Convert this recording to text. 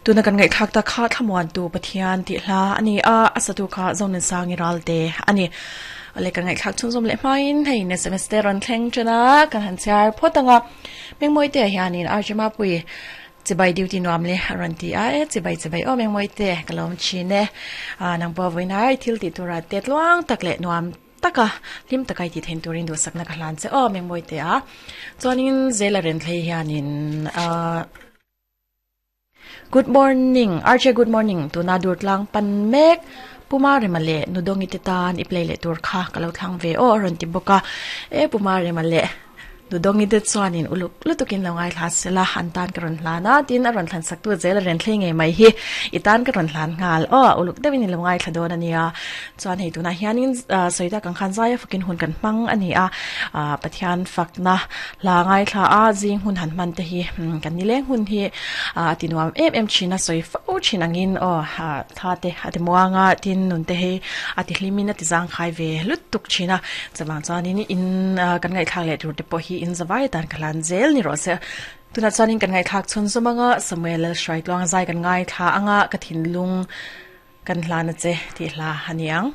Tuna kan ngaihthlak tak kha Thlamuantu Pathian tih hla a ni a, a satu kha Zonunsângi Ralte a ni. Awle kan ngaihthlak chhunzawm leh hmain hei in sms te rawn thleng ṭan a, kan han chhiar phawt ang a. Mengmawite hianin RJ Mapui chibai duty nuam le a rawn ti a, e chibai chibai aw Mengmawite ka lawm thin e. Nang pawh vawiin thil tih turah te tluang tak leh nuam taka hlim taka i tih theih turin duhsakna ka hlan che aw Mengmawite a. Chuanin Zela Renthlei hianin ahh. Good morning RJ good morning tuna dur tlang pan mek Puma Rema leh Nudongi te tan i play leh tur kha ka lo thlang ve aw a rawn ti bawk a e Puma Rema leh Nudongi te chuanin uluk lutukin lo ngaithla sela an tan ka rawn hlan a tin a rawn thlan sak tu zel a ren thleng ngei mai hi i tan ka rawn hlan nghal aw uluk deuhin i lo ngaithla dawn a nia Chuan hei tunah hianin sawi tak ang khan zaia fakin hun kan hmang a ni a, Pathian fakna hla ngaithla a zing hun han hman te hi kan nileng hun hi a ti nuam em em thin a, sawi fo thin angin aw thla te a ti muang a, tin nun te hi a ti hlimin a ti zangkhai ve lut tuk thin a, chuvang chuanin in kan ngaihthlak leh tur te pawh hi in zavai atan ka hlan zel ni rawh se. Tunah chuanin kan ngaihthlak chhun zawm anga Samuel Lalhruaitluang zai kan ngaithla anga ka thinlung Kan hlan a che tih hla a ni ang.